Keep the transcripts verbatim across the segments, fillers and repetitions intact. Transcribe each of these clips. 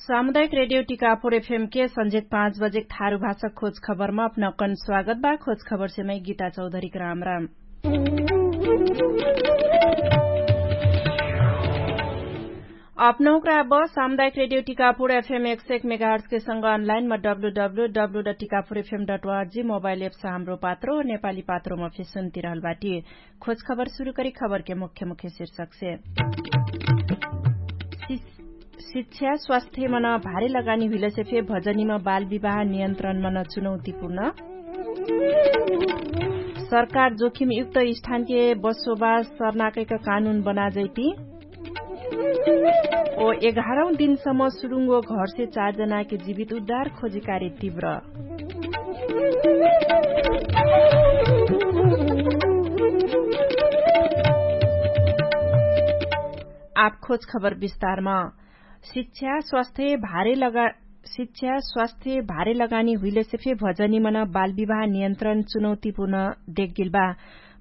सामुदायिक रेडियो टिकापुर एफएम के संझेक पाँच बजेक थारु भाषा खोज खबरमा अपना कन स्वागत बा। खोज खबर सेमै गीता चौधरीक राम राम। अपनहुँक्रा अब सामुदायिक रेडियो टिकापुर एफएम एक सय एक मेगाहर्ट्स के संग अनलाइन म W W W dot Tikapur FM dot ORG mobile apps Hamro Patro नेपाली पात्रोमा फेसुन्ती रहल बाटी। खोज खबर सुरु करी खबर के मुख्य मुख्य शीर्षक से। शिक्षा स्वास्थ्य मन भारी लगानी हुइलसे फे भजनीमा बाल विवाह नियन्त्रण मन चुनौतीपूर्ण। सरकार जोखिम युक्त स्थानके बसोबास सर्नाकैक कानुन बनाजैती। ओ एघारौं दिनसम्म सुरुङ्गो घरसे चारजनाके जीवित उद्धार खोजिकारी तीव्र। आठ खोज खबर विस्तारमा। शिक्षा स्वास्थ्य भारे लगा शिक्षा स्वास्थ्य भारे लगानी हुइलेसे फे भजनीमन बालविवाह नियन्त्रण चुनौतीपूर्ण देखगेल बा।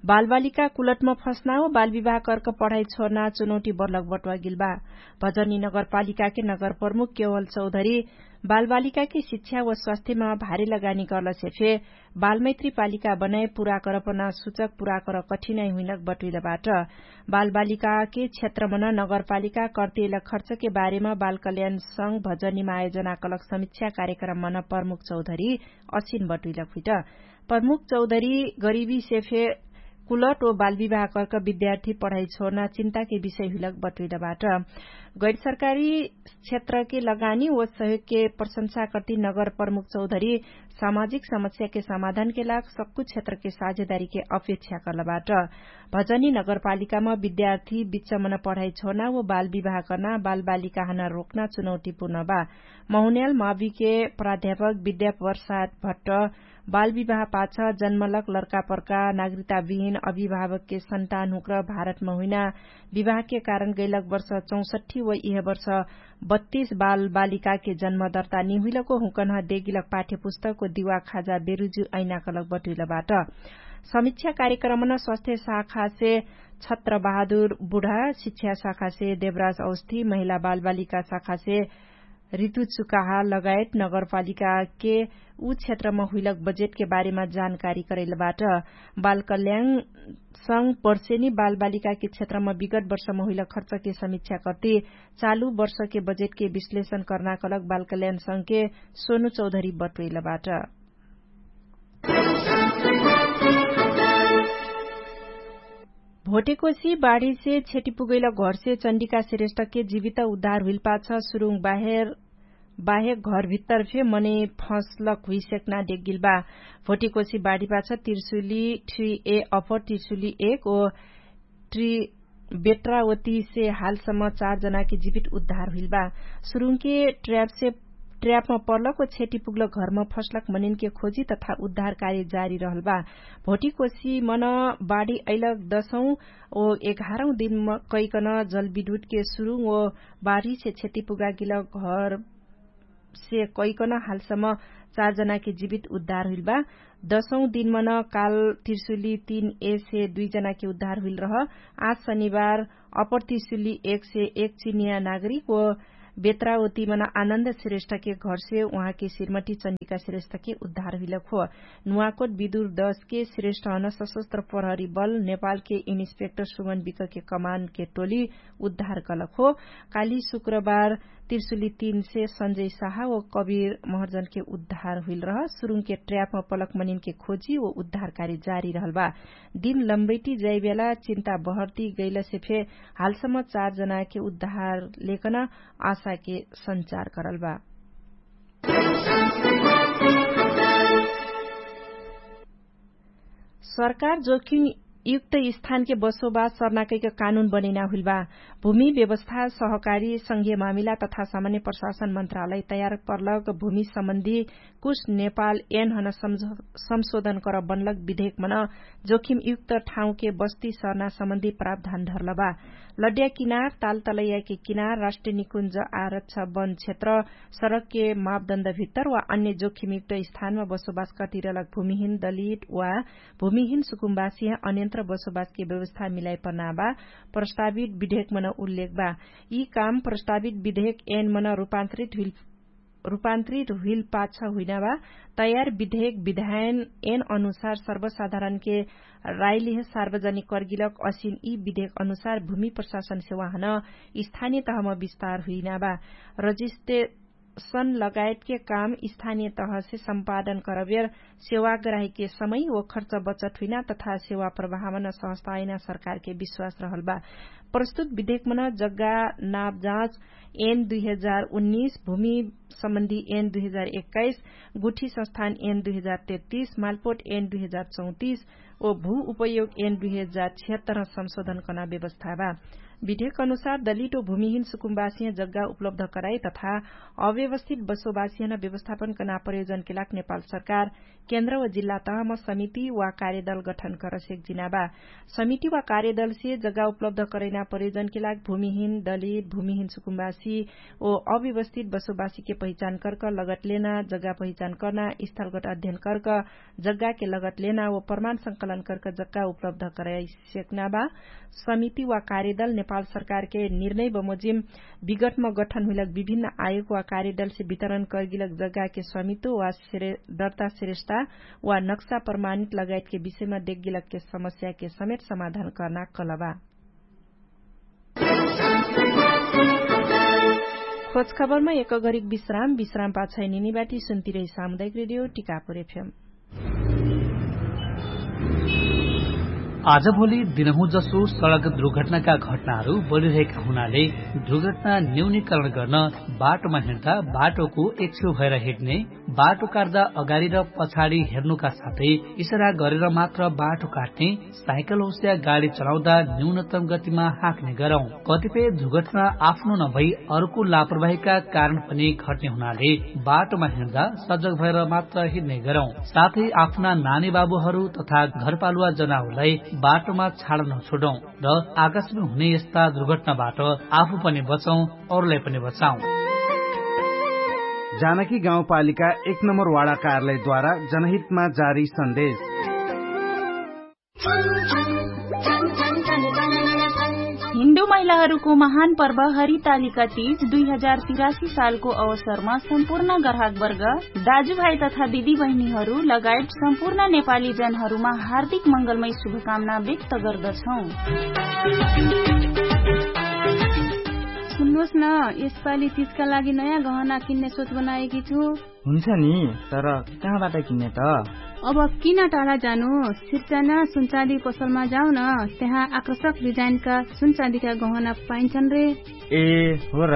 बालबालिका कुलटमा फस्नाओ बालविवाह कर्क पढाइ छोर्ना चुनौती बर्लक बटुवागेल बा। भजनी नगरपालिकाके नगरप्रमुख केवल चौधरी बालबालिकाके शिक्षा व स्वास्थ्यमा भारे लगानी गर्लसे फे बालमैत्री पालिका बनाए पुरा करपना सुचक पुरा कर कठिनाइ हुइनक बटुइलबाट। बालबालिकाके क्षेत्रमन नगरपालिका कर्तिएल खर्चके बारेमा बालकल्याण संग भजनीमा आयोजना कलक समिक्षा कार्यक्रममन प्रमुख चौधरी असिन बटुइलक हुइट। प्रमुख चौधरी गरिबीसे फे कुलट ओ बालविवाह कर्क विद्यार्थी पढाइ छोर्ना चिन्ताके विषय हुइलक बटुइलबाट। गैरसरकारी क्षेत्रके लगानी ओ सहयोगके प्रशंसा कर्ति नगर प्रमुख चौधरी सामाजिक समस्याके समाधानके लाग सक्कु क्षेत्रके साझेदारीके अपेक्षा कर्लबाट। भजनी नगरपालिकामा विद्यार्थी बिच्चमन पढाइ छोर्ना ओ बालविवाह कर्ना बालबालिकाहन रोक्ना चुनौतीपूर्ण बा। महुन्याल माविके प्राध्यापक विद्यावर्षात भट्ट बालविवाह पाछ जन्मलक लर्कापर्का नागरिकताविहीन अभिभावकके सन्तान हुँक्र भारतमा हुइना विवाहके कारण गैलक वर्ष चौसट्ठी व इह वर्ष बत्तीस बालबालिकाके जन्म दर्ता निहुइलको हुँकन्ह देगिलक पाठ्यपुस्तकको दिवा खाजा बेरुजु ऐनाकलक बटुइलबाट। समिक्षा कार्यक्रमन स्वास्थ्य शाखासे छत्र बहादुर बुढा शिक्षा शाखासे देवराज औस्थी महिला बालबालिका शाखासे ऋतु चुकाहा लगायत नगरपालिकाके उ क्षेत्रमा हुइलक बजेटके बारेमा जानकारी करैलबाट। बालकल्याण संग पर्सेनी बालबालिकाके क्षेत्रमा विगत वर्षमा हुइलक खर्चके समिक्षा कर्ति चालु वर्षके बजेटके विश्लेषण कर्नाकलक बालकल्याण संगके सोनु चौधरी बटुइलबाट। भोटेकोसी बाढीसे क्षति पुगैल घरसे चण्डिका श्रेष्ठके जीवित उद्धार हुइलपाछ सुरुङ बाहेर बाहेक घरभित्तर फे मनै फँसलक हुइसेक्ना डेगिल बा। भोटेकोसी बाढीपाछ तिर्सुली थ्री ए अपर तिर्सुली एक ओ ट्री बेट्रावतीसे हालसम्म चार जनाके जीवित उद्धार हुइल बा। सुरुङके ट्र्यापसे ट्र्यापमा पर्लक ओ क्षति पुग्लक घरमा फस्लक मनिनके खोजी तथा उद्धार कार्य जारी रहल बा। भोटिकोसी मन बाढी अइलक दसौँ ओ एघारौँ दिन कैकन जलविद्युतके सुरुङ ओ बाढीसे क्षति पुगागिलक घर से कैकन हालसम्म चार जनाके जीवित उद्धार हुइल बा। दसौँ दिनमन काल तिर्सुली तीन ए से दुई जनाके उद्धार हुइल रह। आज शनिबार अपर तिर्सुली एक से एक चिनिया नागरिक ओ बेत्रावतीमन आनन्द श्रेष्ठके घरसे उहाँके श्रीमती चण्डिका श्रेष्ठके उद्धार हुइलक हो। नुवाकोट विदुर दसके श्रेष्ठहन सशस्त्र प्रहरी बल नेपालके इन्स्पेक्टर सुमन विकके कमानके टोली उद्धार कलक हो। काली शुक्रबार तिर्सुली तीन से सन्जय साहा ओ कबिर महर्जनके उद्धार हुइल रह। सुरुङके ट्र्यापमा पलक मनिनके खोजी ओ उद्धार कार्य जारी रहल बा। दिन लम्बैटी जाइबेला चिन्ता बहर्ती गैलसे फे हालसम्म चार जनाके उद्धार लेकन आशाके सञ्चार करल बा। सरकार जोखिम युक्त स्थानके बसोबास सर्नाकैक कानुन बनैना हुइल बा। भूमि व्यवस्था सहकारी संघीय मामिला तथा सामान्य प्रशासन मन्त्रालय तयार पर्लक भूमि सम्बन्धी कुछ नेपाल एनहन संशोधन कर बनलक विधेयक मन जोखिम युक्त ठाउँके बस्ती सर्ना सम्बन्धी प्रावधान धर्ल बा। लड्या किनार तालतलैयाके किनार राष्ट्रिय निकुञ्ज आरक्ष वन क्षेत्र सडकके मापदण्डभित्तर वा अन्य जोखिमयुक्त स्थानमा बसोबास कटिरलक भूमिहीन दलित वा भूमिहीन सुकुम्बासिह अन्यन्त्र बसोबासके व्यवस्था मिलाइ पर्नाबा प्रस्तावित विधेकमन उल्लेख बा। यि काम प्रस्तावित विधेक एनमन रूपान्तरित हुइल रूपान्तरित हुइल पाछ हुइनाबा तयार विधेक विधायन एन अनुसार सर्वसाधारणके राइलिह सार्वजनिक कर्गिलक असिन यि विधेक अनुसार भूमि प्रशासन सेवाहन स्थानीय तहम विस्तार हुइनाबा रजिस्ट्रेशन लगायतके काम स्थानीय तहसे सम्पादन करबेर सेवाग्राहीके समय व खर्च बचत हुइना तथा सेवा प्रभावना सहस्तायना सरकारके विश्वास रहलबा। प्रस्तुत विधेकमन जग्गा नापजाँच एन दुई हजार उन्नीस भूमि सम्बन्धी एन दुई हजार एक्काइस गुठी संस्थान एन दुई हजार तेत्तिस मालपोट एन दुई हजार चौतिस ओ भू उपयोग एन दुई हजार छिहत्तर संशोधन कर्ना व्यवस्था बा। विधेक अनुसार दलित ओ भूमिहीन सुकुम्बासिह जग्गा उपलब्ध कराई तथा अव्यवस्थित बसोबासिहन व्यवस्थापन कर्ना प्रयोजनके लाग नेपाल सरकार केन्द्र व जिल्ला तहम समिति वा कार्यदल गठन करसेक जिनाबा। समिति वा कार्यदलसे जग्गा उपलब्ध करैना प्रयोजनके लाग भूमिहीन दलित भूमिहीन सुकुम्बासी ओ अव्यवस्थित बसोबासीके पहिचान कर्क लगत लेना जग्गा पहिचान कर्ना स्थलगत अध्ययन कर्क जग्गाके लगत लेना ओ प्रमाण संकलन कर्क जग्गा उपलब्ध कराइसेक्ना बा। समिति वा कार्यदल नेपाल सरकारके निर्णय बमोजिम विगटम गठन हुइलक विभिन्न आयोग वा कार्यदलसे वितरण कर्गिलक जग्गाके समितो वा दर्ता श्रेष्ठा वा नक्सा प्रमाणित लगायतके विषयमा देख्गिलकके समस्याके समेत समाधान कर्ना कलबा। खोजखबरमा एक घरिक विश्राम विश्राम पाछै निनिबाटी सुन्तिरै सामुदायिक रेडियो टिकापुर एफएम। आजभोलि दिनहुँ जसो सडक दुर्घटनाका घटनाहरू बढिरहेका हुनाले दुर्घटना न्यूनीकरण गर्न बाटोमा हिँड्दा बाटोको एक्छेउ भएर हिँड्ने बाटो काट्दा अगाडि र पछाडि हेर्नुका साथै इसारा गरेर मात्र बाटो काट्ने साइकल होस्या गाडी चलाउँदा न्यूनतम गतिमा हाँक्ने गरौँ। कतिपय दुर्घटना आफ्नो नभई अर्को लापरवाहीका कारण पनि घट्ने हुनाले बाटोमा हिँड्दा सजग भएर मात्र हिँड्ने गरौँ। साथै आफ्ना नानी बाबुहरू तथा घरपालुवा जनावरलाई बाटोमा छाड नछोडौँ र आकाशमा हुने यस्ता दुर्घटनाबाट आफू पनि बचौँ, अरूलाई पनि बचाउँ। जानकी गाउँपालिका एक नम्बर वाडा कार्यालयद्वारा जनहितमा जारी सन्देश। हिन्दू महिलाहरूको महान पर्व हरितालिका तीज दुई हजार तिरासी सालको अवसरमा सम्पूर्ण ग्राहकवर्ग दाजुभाइ तथा दिदीबहिनीहरू लगायत सम्पूर्ण नेपाली जनहरूमा हार्दिक मङ्गलमय शुभकामना व्यक्त गर्दछौँ। सुन्नुहोस् न, यसपालि तीजका लागि नयाँ गहना किन्ने सोच बनाएकी छु। हुन्छ नि, तर कहाँबाट किन्ने त? अब किन टाढा जानु? सिर्जना सुनचाँदी पसलमा जाऊ न, त्यहाँ आकर्षक डिजाइनका सुनचाँदीका गहना पाइन्छन् रे। ए हो र,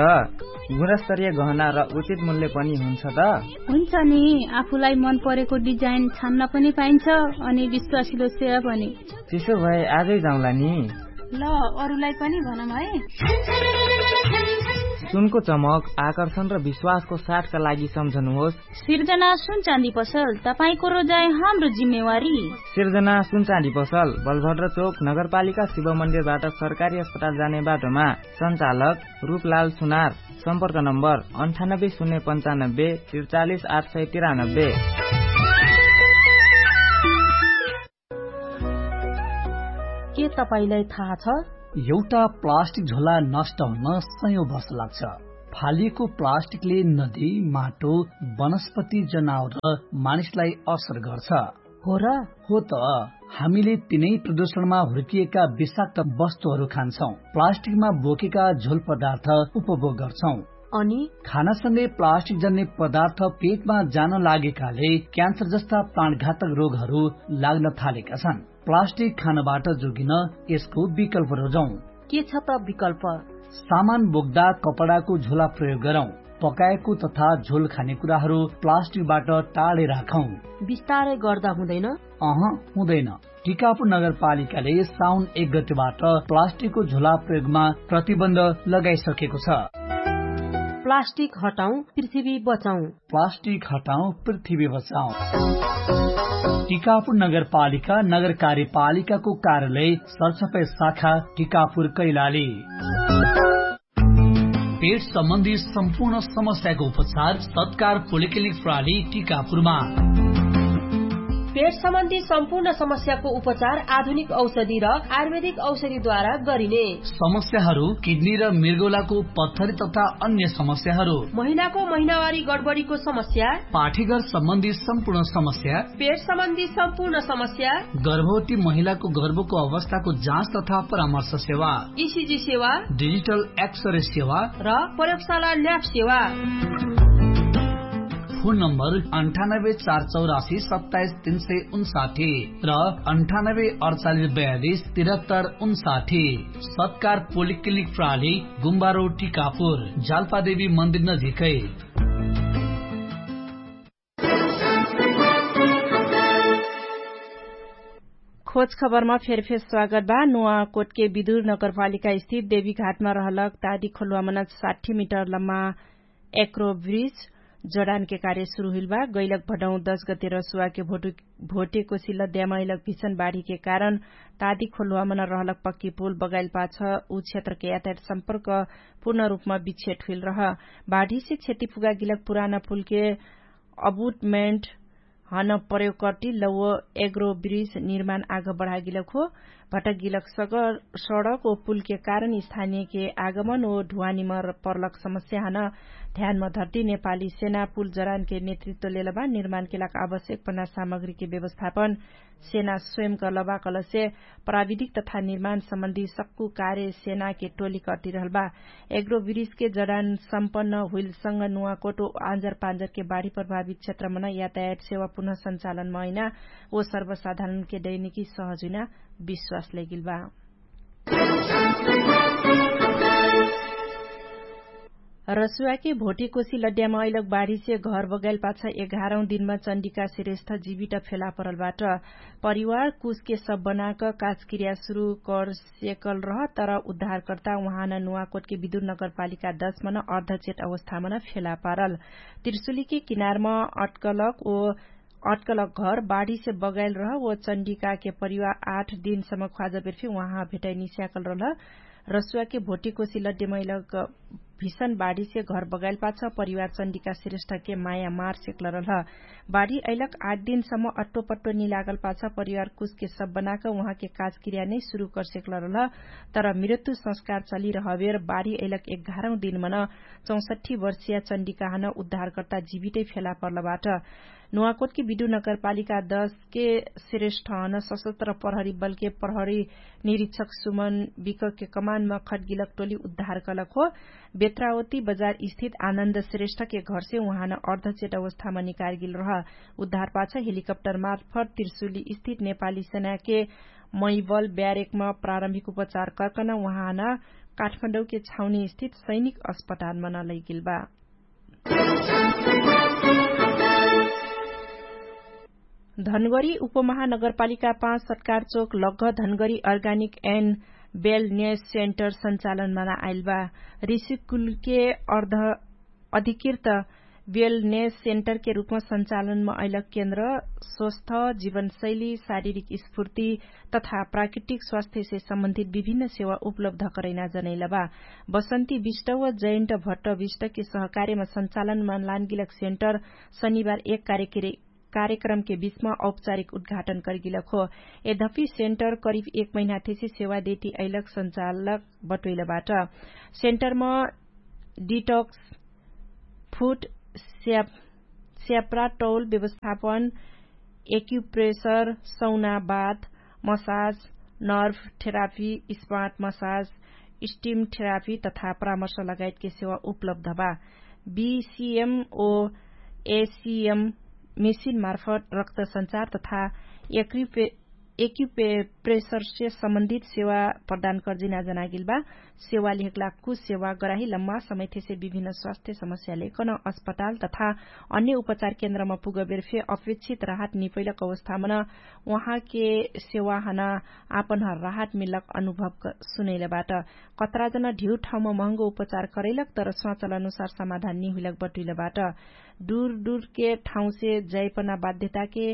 गुणस्तरीय गहना र उचित मूल्य पनि हुन्छ त? हुन्छ नि, आफूलाई मन परेको डिजाइन छान्न पनि पाइन्छ अनि विश्वासिलो सेवा पनि। त्यसो भए आजै जाउँला नि। ल, अरूलाई पनि भनौँ है। सुनको चमक आकर्षण र विश्वासको साथका लागि सम्झनुहोस्। सिर्जना सुनचाँदी पसल, तपाईंको रोजाइ हाम्रो जिम्मेवारी। सिर्जना सुनचाँदी पसल, बलभद्र चोक, नगरपालिका शिव मन्दिरबाट सरकारी अस्पताल जाने बाटोमा। सञ्चालक रूपलाल सुनार। सम्पर्क नम्बर अन्ठानब्बे शून्य पन्चानब्बे त्रिचालिस आठ सय तिरानब्बे। के तपाईंलाई थाहा छ? एउटा प्लास्टिक झोला नष्ट हुन सयौं वर्ष लाग्छ। फालिएको प्लास्टिकले नदी, माटो, वनस्पति, जनावर र मानिसलाई असर गर्छ। हो र? हो त। हामीले तिनै प्रदूषणमा हुर्किएका विषाक्त वस्तुहरू खान्छौं, प्लास्टिकमा बोकेका झोल पदार्थ उपभोग गर्छौं। अनि खानासँगै प्लास्टिक जन्ने पदार्थ पेटमा जान लागेकाले क्यान्सर जस्ता प्राणघातक रोगहरू लाग्न थालेका छन्। प्लास्टिक खानबाट जोगिन यसको विकल्प रोजौं। के छ त विकल्प? सामान बोक्दा कपडाको झोला प्रयोग गरौं। पकाएको तथा झोल खाने कुराहरू प्लास्टिकबाट टाढै राखौं। बिस्तारै गर्दा हुँदैन? अह, हुँदैन। टिकापुर नगरपालिकाले साउन एक गतिबाट प्लास्टिकको झोला प्रयोगमा प्रतिबन्ध लगाइसकेको छ। प्लास्टिक हटाउँ, पृथ्वी बचाउँ। प्लास्टिक हटाउँ, पृथ्वी बचाउँ। टिकापुर नगरपालिका नगरकार्यपालिकाको कार्यालय सरसफाई शाखा टिकापुर कैलाली। पेट सम्बन्धी सम्पूर्ण समस्याको उपचार सत्कार पोलिक्लिनिक प्राली टिकापुरमा। पेट सम्बन्धी सम्पूर्ण समस्याको उपचार आधुनिक औषधि र आयुर्वेदिक औषधिद्वारा गरिने समस्याहरू किडनी र मृगौलाको पत्थरी तथा अन्य समस्याहरू, महिनाको महिनावारी गडबडीको समस्या, पाठीघर सम्बन्धी सम्पूर्ण समस्या, पेट सम्बन्धी सम्पूर्ण समस्या, गर्भवती महिलाको गर्भको अवस्थाको जाँच तथा परामर्श सेवा, इसिजी सेवा, डिजिटल एक्सरे सेवा र प्रयोगशाला ल्याब सेवा। फोन नम्बर अन्ठानब्बे चार चौरासी सत्ताइस तीन सय उन्साठी र अन्ठानब्बे अडचालिस बयालिस तिरहत्तर उन्साठी। सत्कार पोलिक्लिनिक प्राली गुम्बारो टिकापुर जालपादेवी मन्दिर नजिकै। खोज खबरमा फेरफेर स्वागत बा। नुवा कोटके विदुर नगरपालिका स्थित देवीघाटमा रहलक तादी खोलुवामन साठी मिटर लम्मा एक्रो ब्रिज जडानके कार्य सुरु हुइल बा। गैलक भडौँ दश गते रसुवाके भोटेकोसी लद्यामा अइलक भिषण बाढीके कारण तादी खोलुवामन रहलक पक्की पुल बगाइल पाछ उ क्षेत्रके यातायात सम्पर्क पूर्ण रूपमा विच्छेट हुइल रह। बाढीसे क्षति पुगागिलक पुराना पुलके अबुटमेन्ट हन प्रयोगकर्टी लौव एग्रो ब्रिज निर्माण आग बढागिलक हो। भटकगिलक सडक ओ पुलके कारण स्थानियके आगमन ओ ढुवानीमा पर्लक समस्या हन ध्यानमा धर्ती नेपाली सेना पुल जरानके नेतृत्व लेलबा निर्माणके लाग आवश्यक पन्ना सामग्रीके व्यवस्थापन सेना स्वयं कर्लबा कलसे प्राविधिक तथा निर्माण सम्बन्धी सक्कु कार्य सेनाके टोली कर्तिरहलबा। एग्रो ब्रिजके जडान सम्पन्न हुइलसँग नुवाकोटो आँजर पाँजरके बाढी प्रभावित क्षेत्रमन यातायात सेवा पुनः सञ्चालनमा अइना ओ सर्वसाधारणके दैनिकी सहज हुइना विश्वास लैगिलबा। रसुवाके भोटिकोसी लड्यामा अइलक बाढीसे घर बगाइल पाछ एघारौँ दिनमा चण्डिका श्रेष्ठ जीवित फेला परलबाट। परिवार कुसके सब बनाक काजक्रिया सुरु कर सेकल रह तर उद्धारकर्ता उहाँन नुवाकोटके विदुर नगरपालिका दश मन अर्धचेट अवस्थामन फेला पारल। त्रिशुलीके किनारमा अट्कलक ओ अट्कलक घर बाढीसे बगाइल रह ओ चण्डिकाके परिवार आठ दिनसम्म ख्वाजबेरफी उहाँ भेटैनी स्याकल रहल। रसुवाके भोटिकोसी लड्डेमैलक भिषण बाढीसे घर बगाइल पाछ परिवार चण्डिका श्रेष्ठके माया मार सेकल रहल। बाढी अइलक आठ दिनसम्म अट्टोपट्टो निलागल पाछ परिवार कुसके सब बनाक उहाँके काजक्रिया नै सुरु कर सेकल रहल। तर मृत्यु संस्कार चलिरहबेर बाढी अइलक एघारौँ दिनमन चौसट्ठी वर्षिया चण्डिकाहन उद्धारकर्ता जीवितै फेला पर्लबाट। नुवाकोटके विदु नगरपालिका दशके श्रेष्ठहन सशस्त्र प्रहरी बलके प्रहरी निरीक्षक सुमन विकके कमानमा खटगिलक टोली उद्धार कलक हो। बेत्रावती बजार स्थित आनन्द श्रेष्ठके घरसे उहाँन अर्धचेट अवस्थामा निकारगिल रह। उद्धार पाछ हेलिकप्टर मार्फत त्रिशुली स्थित नेपाली सेनाके मैबल ब्यारेकमा प्रारम्भिक उपचार कर्कन उहाँन काठमाडौँके छाउनी स्थित सैनिक अस्पतालमा नलैगिल बा। धनगरी उपमहानगरपालिका पाँच सत्कार चोक लग्घ धनगरी अर्गानिक एन्ड बेल न्यास सेन्टर सञ्चालनमा आइल बा। ऋषिकुलके अर्ध अधिकृत बेल न्यास सेन्टरके रूपमा सञ्चालनमा अइलक केन्द्र स्वस्थ जीवनशैली शारीरिक स्फूर्ति तथा प्राकृतिक स्वास्थ्यसे सम्बन्धित विभिन्न सेवा उपलब्ध करैना जनैलबा। बसन्ती विष्ट व जयन्ट भट्ट विष्टके सहकार्यमा सञ्चालनमा लानगिलक सेन्टर शनिबार एक कार्यक्रमके बिचमा औपचारिक उद्घाटन करगिलक हो। यद्यपि सेन्टर करिब एक महिनाथेसे सेवा देती अइलक सञ्चालक बटोइलबाट। सेन्टरमा डिटक्स फुट स्याप्रा टौल व्यवस्थापन एक्युप्रेसर सौना बात massage nerve therapy smart massage steam therapy तथा परामर्श लगायतके सेवा उपलब्ध बा। बिसिएम ओ एसिएम मेसिन मार्फत रक्त सञ्चार तथा एक्युप्रेसरसे सम्बन्धित सेवा प्रदान कर्जिना जनागिल बा। सेवा लिहकला कुछ सेवा गराही लम्मा समयथेसे विभिन्न स्वास्थ्य समस्याले कन अस्पताल तथा अन्य उपचार केन्द्रमा पुगबेर फे अपेक्षित राहत निपैलक अवस्थामन उहाँके सेवा हना आपन राहत मिलक अनुभव सुनैलबाट। कतराजन ढिउ ठाउँमा महँगो उपचार करैलक तर स्वाचल अनुसार समाधान निहुइलक बटुइलबाट। दुर दुरके ठाउँसे जैपना बाध्यताके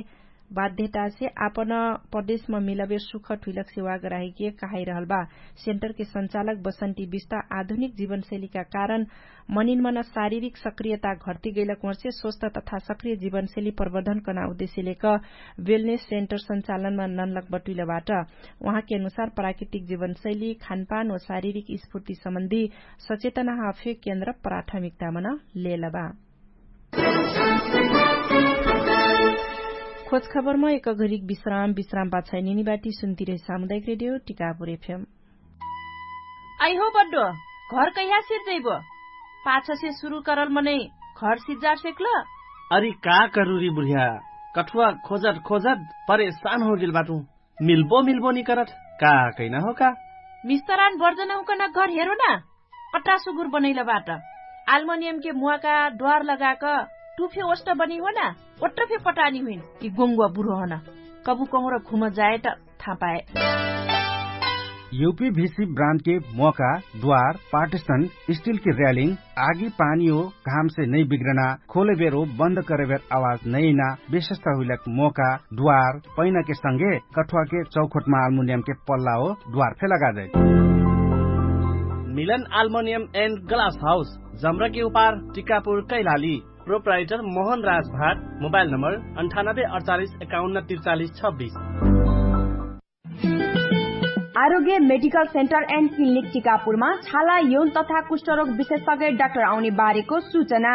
बाध्यतासे आपन प्रदेशमा मिलबे सुख ठुइलक सेवा गराहेके कहाइरहल बा। सेन्टरके सञ्चालक बसन्ती विस्ता आधुनिक जीवनशैलीका कारण मनिनमन शारीरिक सक्रियता घट्ती गैलक वर्षे स्वस्थ तथा सक्रिय जीवनशैली प्रवर्धन कना उद्देश्यलेक वेलनेस सेन्टर सञ्चालनमा ननलक बटुइलबाट। उहाँके अनुसार प्राकृतिक जीवनशैली खानपान व शारीरिक स्फूर्ति सम्बन्धी सचेतना हाफे केन्द्र प्राथमिकतामन लेलबा। खोजखबरमा एक घरिक विश्राम विश्राम पाछाइ निनिबाटी सुन्तिरहे सामुदायिक रेडियो टिकापुर एफएम। आइहो बड्डो, घर कैहा सिर्जैबो? पाछसे सुरु करल मनै घर सिर्जार सेक्ल? अरि का करुरी बुढिया, कठुवा खोजत खोजत परेशान होगेल बाटु। मिल्बो मिल्बो निकरत, का कैना हो का? मिस्तरान बर्जन हुकन घर हेरो ना। अट्टा सुगुर बनैल बाट। आल्मनियमके मुवाका द्वार लगाक टुफे ओष्ट बनी हो ना? ओट्ट फे पटानी हुइन कि गोङ्गुवा बुरो हन। कबु कहुँर घुम जाए त थापाए। युपी भिसी ब्रान्डके मोका द्वार पार्टिसन स्टिलके र्यालिङ आगी पानी हो घामसे नै बिग्रना खोलेबेर हो बन्द करेबेर आवाज नैना विशेषता हुइलक मोका द्वार पैनाके संगे कठुवाके चौखोटमा आल्मुनियमके पल्ला हो द्वार फे लगाजै। मिलन आल्मोनियम एन्ड ग्लास हाउस जम्रकी उपार टिकापुर कैलाली। प्रोप्राइटर मोहन राजभाट मोबाइल नम्बर अन्ठानब्बे अडचालिस एकाउन्न तिरचालिस छब्बिस। आरोग्य मेडिकल सेन्टर एन्ड क्लिनिक टिकापुरमा छाला यौन तथा कुष्ठरोग विशेषज्ञ डाक्टर आउने बारेको सूचना।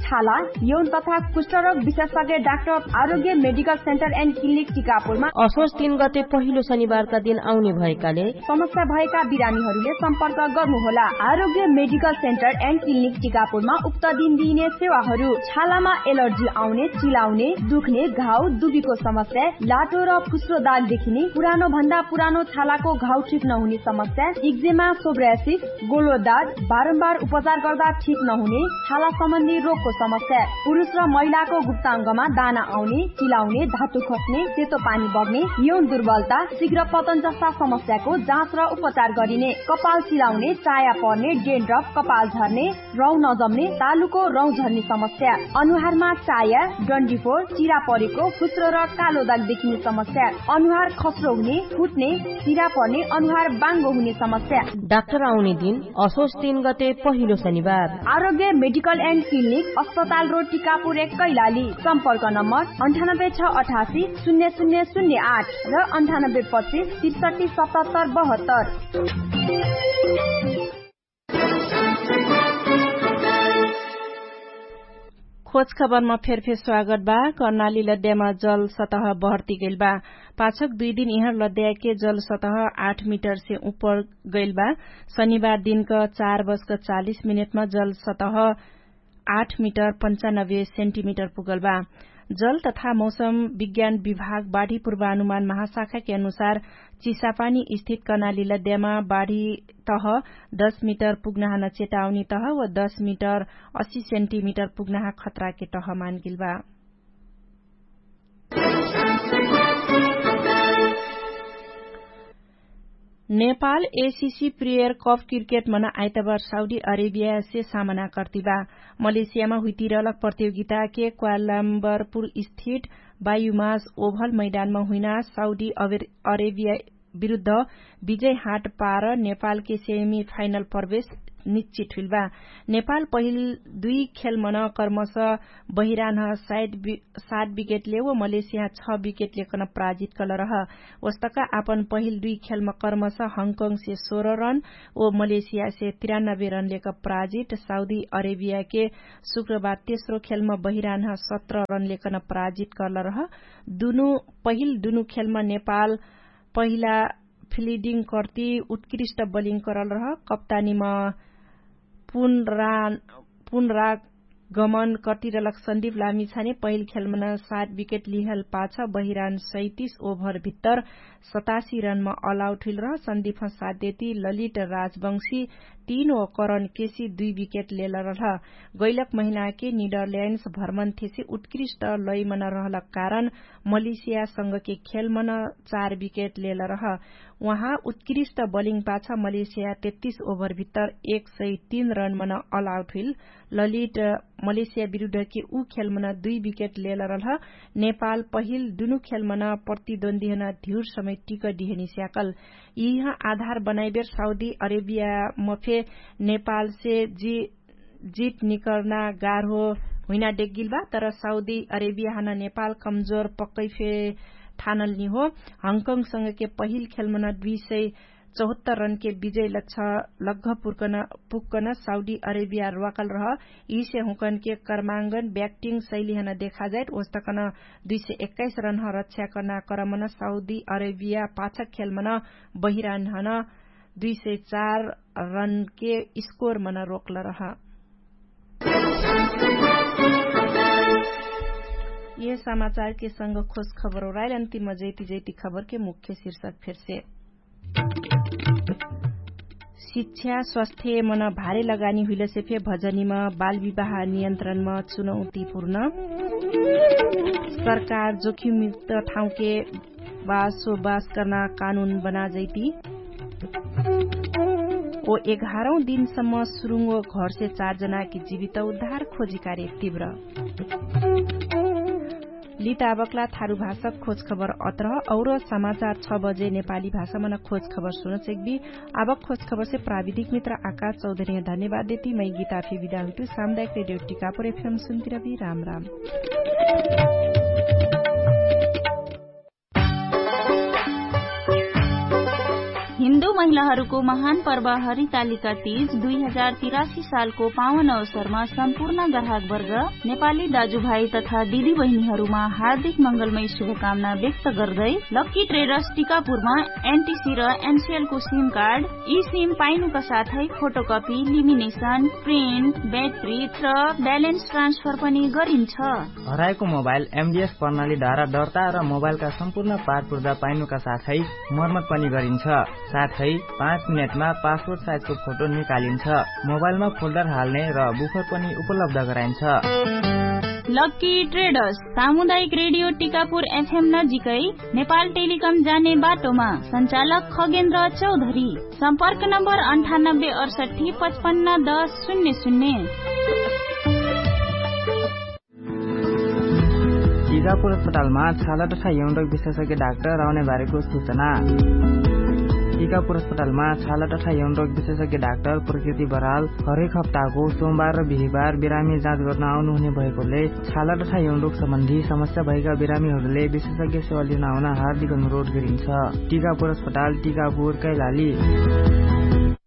छाला यौन तथा कुष्ठरोग विशेषज्ञ डाक्टर आरोग्य मेडिकल सेन्टर एन्ड क्लिनिक टिकापुरमा असोज तीन गते पहिलो शनिबारका दिन आउने भएकाले समस्या भएका बिरामीहरूले सम्पर्क गर्नुहोला। आरोग्य मेडिकल सेन्टर एन्ड क्लिनिक टिकापुरमा उक्त दिन दिइने सेवाहरू छालामा एलर्जी आउने, चिलाउने, दुख्ने, घाउ दुबीको समस्या, लाटो र फुस्रो दाग देखिने, पुरानो भन्दा पुरानो छालाको घाउ ठिक नहुने समस्या, इक्जेमा, सोब्रासिस, गोलो दाग, बारम्बार उपचार गर्दा ठिक नहुने छाला सम्बन्धी रोगको समस्या, पुरुष र महिलाको गुप्ताङ्गमा दाना आउने, चिलाउने, धातु खस्ने, सेतो पानी बग्ने, यौन दुर्बलता, शीघ्र पतन जस्ता समस्याको जाँच र उपचार गरिने, कपाल चिलाउने, चाया पर्ने, डेन्ड्रफ, कपाल झर्ने, रौँ नजम्ने, तालुको रौँ झर्ने समस्या, अनुहारमा चाया, डन्डीफोर, चिरा परेको, फुस्रो र कालो दाग देखिने समस्या, अनुहार खस्रो हुने, फुट्ने, चिरा पर्ने, अनुहार बाङ्गो हुने समस्या। डाक्टर आउने दिन असोज तीन गते पहिलो शनिबार। आरोग्य मेडिकल एन्ड क्लिनिक, अस्पताल रोड, टिकापुर एक, कैलाली। सम्पर्क नम्बर अन्ठानब्बे छ अठासी शून्य शून्य शून्य आठ र अन्ठानब्बे पच्चिस त्रिसठी सतहत्तर बहत्तर। खोज खबरमा फेरफेर स्वागत बा। कर्णाली लद्यामा जल सतह बहर्ती गैल बा। पाछक दुई दिन इहाँ लद्याके जल सतह आठ मिटरसे उपर गैल बा। शनिबार दिनक चार बजक चालिस मिनेटमा जल सतह आठ मिटर पन्चानब्बे सेन्टिमिटर पुगल बा। जल तथा मौसम विज्ञान विभाग बाढी पूर्वानुमान महाशाखाके अनुसार चिसापानी स्थित कर्णाली लद्यामा बाढी तह दस मिटर पुग्नाहा न चेतावनी तह व दस मिटर अस्सी सेन्टिमिटर पुग्नाहा खतराके तह मानगेल बा। Nepal ACC prior cup cricket मन आइतबार साउदी अरेबियासे सामना कर्तिबा। मलेसियामा हुइतिरलक प्रतियोगिताके क्वालाम्बरपुर स्थित बायुमास ओभल मैदानमा हुइना साउदी अरेबिया विरुद्ध विजय हाट पार नेपालके सेमी फाइनल प्रवेश निश्चित हुइलबा। नेपाल पहिल दुई खेलमन कर्मस बहिरान्ह साइत सात विकेटले व मलेसिया छ विकेटले कन पराजित कलरह। ओस्तका आपन पहिल दुई खेलम कर्मस हङकङसे सोह्र रन व मलेसियासे तिरानब्बे रनले क पराजित साउदी अरेबियाके शुक्रबार तेस्रो खेलम बहिरान्ह सत्र रनले कन पराजित कलरह। दुनु पहिल दुनु खेलम नेपाल पहिला फिलिडिङ कर्ति उत्कृष्ट बलिङ करलरह। कप्तानीम पुनरा पुनरागमन कर्तिरलक सन्दीप लामिछाने पहिल खेलमन सात विकेट लिहल पाछ बहिरान सैतिस ओभर भित्तर सतासी रनमा अलाउट हुइलरह। सन्दीप सात देती ललित राजवंशी तीन ओकरन केसी दुई विकेट लेलरलह। गैलक महिनाके निडरल्यान्ड्स भ्रमण थेसी उत्कृष्ट लैमन रहलक कारण मलेसियासँगके खेलमन चार विकेट लेलरह। उहाँ उत्कृष्ट बलिङ पाछ मलेसिया तेत्तिस ओभर भित्तर एक सय तीन रनमन अलाउट हुइल। ललिट मलेसिया विरुद्धके उ खेलमन दुई विकेट लेलरलह। नेपाल पहिल दुनु खेलमन प्रतिद्वन्द्वीहन धिउर समय टिक डिहेनी स्याकल। यिह आधार बनाइबेर साउदी अरेबिया मफे नेपालसे जित निकर्ना गार हो हुइना डेग्गिल बा। तर साउदी अरेबिया हन नेपाल कमजोर पक्कै फे ठानल निहो। हङकङसँगके पहिल खेलमन दुई सय चौहत्तर रनके विजय लक्ष लग्घ पुर्कन पुक्कन साउदी अरेबिया र्वाकल रह। यिसे हुँकनके कर्माङ्गन ब्याक्टिङ शैली हन देखाजाइट ओस्तकन दुई सय एक्काइस रन्ह रक्षा कर्ना क्रमन साउदी अरेबिया पाछक खेलमन बहिरान्हन दुई सय चार रनके स्कोरमन रोक्ल रह। यह समाचारके संग खोज खबर ओराइल अन्तिम जैती जैती खबरके मुख्य शीर्षक फेरसे। शिक्षा स्वास्थ्य मन भारे लगानी हुइलसे फे भजनीम बाल विवाह नियन्त्रणम चुनौतीपूर्ण। सरकार जोखिमयुक्त ठाउँके बासोबास कर्ना कानुन बनाजैती। ओ एघारौँ दिनसम्म सुरुङ्गो घरसे चार जनाकी जीवित उद्धार खोजी कार्य तीव्र। लिताबक्ला थारु भाषक खोज खबर अत्रह और समाचार छ बजे नेपाली भाषामन खोज खबर सुनचेकबी। आबक खोज खबरसे प्राविधिक मित्र आकाश चौधरीह धन्यवाद देती मै गीताफी विदा हुइटु सामुदायिक रेडियो टिकापुर एफएम सुन्तिरबी। राम राम। हिन्दू महिलाहरूको महान पर्व हरितालिका तीज दुई हजार तिरासी सालको पावन अवसरमा सम्पूर्ण ग्राहकवर्ग, नेपाली दाजुभाइ तथा दिदीबहिनीहरूमा हार्दिक मङ्गलमय शुभकामना व्यक्त गर्दै लक्की ट्रेडर्स टिकापुरमा एनटिसी र एनसिएलको सिम कार्ड, ई सिम पाइनुका साथै फोटोकपी, लिमिनेसन, प्रिन्ट, ब्याट्री र ब्यालेन्स ट्रान्सफर पनि गरिन्छ। हराएको मोबाइल एमडिएस प्रणालीद्वारा दर्ता र मोबाइलका सम्पूर्ण पारपुर्जा पाइनुका साथै मर्मत पनि गरिन्छ। साथै पाँच मिनेटमा पासपोर्ट साइजको फोटो निकालिन्छ। मोबाइलमा फोल्डर हाल्ने र बुफर पनि उपलब्ध गराइन्छ। लक्की ट्रेडर्स, सामुदायिक रेडियो टिकापुर एफएम नजिकै, नेपाल टेलिकम जाने बाटोमा। सञ्चालक खगेन्द्र चौधरी। सम्पर्क नम्बर अन्ठानब्बे अडसट्ठी पचपन्न दस शून्य शून्य। टिकापुर अस्पतालमा छाला तथा यौन रोग विशेषज्ञ डाक्टर आउने बारेको सूचना। टिकापुर अस्पतालमा छाला तथा यौन रोग विशेषज्ञ डाक्टर प्रकृति बराल हरेक हप्ताको सोमबार र बिहिबार बिरामी जाँच गर्न आउनुहुने भएकोले छाला तथा यौन रोग सम्बन्धी समस्या भएका बिरामीहरूले विशेषज्ञ सेवा लिन आउन हार्दिक अनुरोध गरिन्छ। टिकापुर अस्पताल, टिकापुर, कैलाली।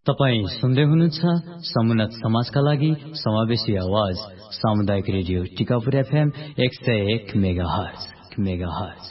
तपाईँ सुन्दै हुनुहुन्छ समुन्नत समाजका लागि समावेशी आवाज, सामुदायिक रेडियो टिकापुर एफएम एक सय एक मेगाहर्ज, मेगाहर्ज।